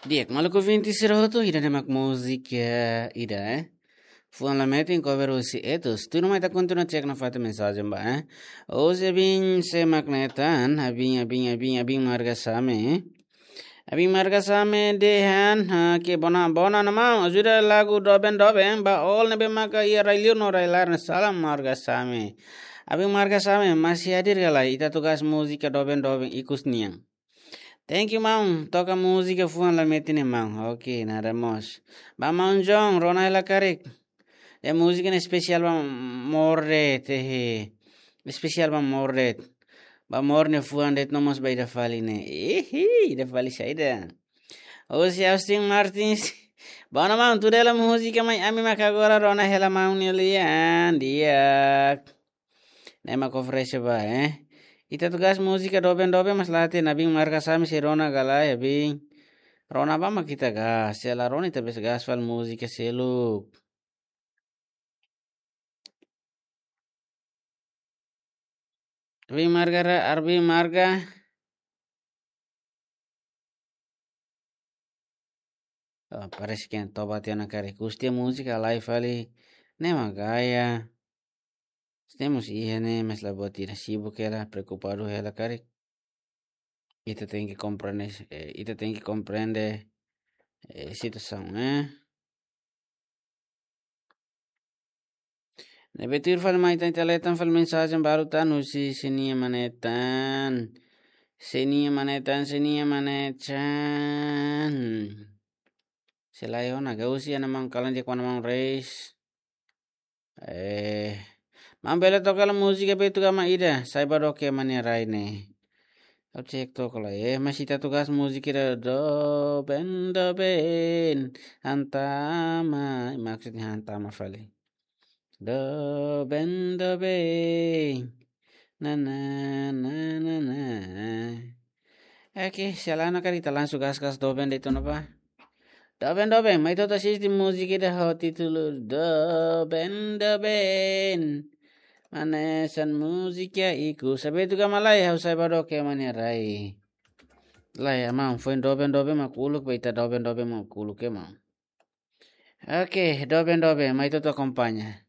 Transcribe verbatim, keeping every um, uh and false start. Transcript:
Di'ak, maluk ouvinte sira hotu, ida-ne'e mak múzika ida, eh. Fuan Lametin cover husi Etus. Tuirmai ita kontinua cek nafatin mensajen ba, eh. Ohin abin sé mak ne'e tan, abin, abin, abin, abin Marga Same, eh. Abin Marga Same dehan, ha, ke bona, bona ona maun, ajuda lagu Doben Doben, ba all ne'ebé maka iha rai-liur no rai-laran, salam Marga Same. Abin Marga Same, masih hadir ka lae, ita tugas múzika Doben Doben ikus nian. Thank you, maun. Toka múzika Fuan Lametin ne'e, maun. Oke, nada mós. Ba maun John, rona hela karik. Ida múzika ne'e espesiál ba Morde, tehe. Espesiál ba Morde. Ba Morde nia fuan de'it no mós ba ida fali ne'e. Ihi, ida fali saida. Osi Austin Martins. Bona maun, tuda hela múzika mai ami mak agora rona hela maun nia lian. Di'ak. Ne'e mak oferese ba, eh. Ita tugas múzika Doben Doben mas la hatene abin Marga Same sei rona ka lae, abin. Rona ba mak ita gas, se la rona ita bele gas fali múzika seluk. Abin Marga, ra-, abin Marga. Oh, parese ke toba tiha ona karik. Husi nia múzika halai fali. Ne'e mak gaya. Temos iha ne'e, mas la buat ida, sibuk hela, preokupadu hela karik. Ita tenke komprende, eh, ita tenke komprende, eh, situasaun, eh. Ne'ebé tuir fali mai ita, ita leten fali mensajen balu tan husi Senia Manetan. Senia Manetan, Senia Manetan. Selae ona, gausi ana maun kalan dia kuana maun Reis. Eh, maun bele toka hela múzika Betu Gama ida, Saiba Doke Mane Rai ne'e. Ha'u cek toka hela, eh, mas ita tugas múzika ida Doben Doben, hantama, maksudnya hantama fali. Doben Doben, na, na, na, na, na. Oke, se lae ona karik ita langsung gas-gas Doben de'it ona ba. Doben, Doben, mai ita atu asiste múzika ida ho títulu Doben, Doben. Hanesan múzika ikus. Sá Betu Gama lae, ha'u Saiba Doke Mane Rai. Lae, maun, foin Doben, Doben mak uluk, ba ita Doben, Doben mak uluk, eh, maun. Oke, Doben, Doben, mai ita atu akompaña.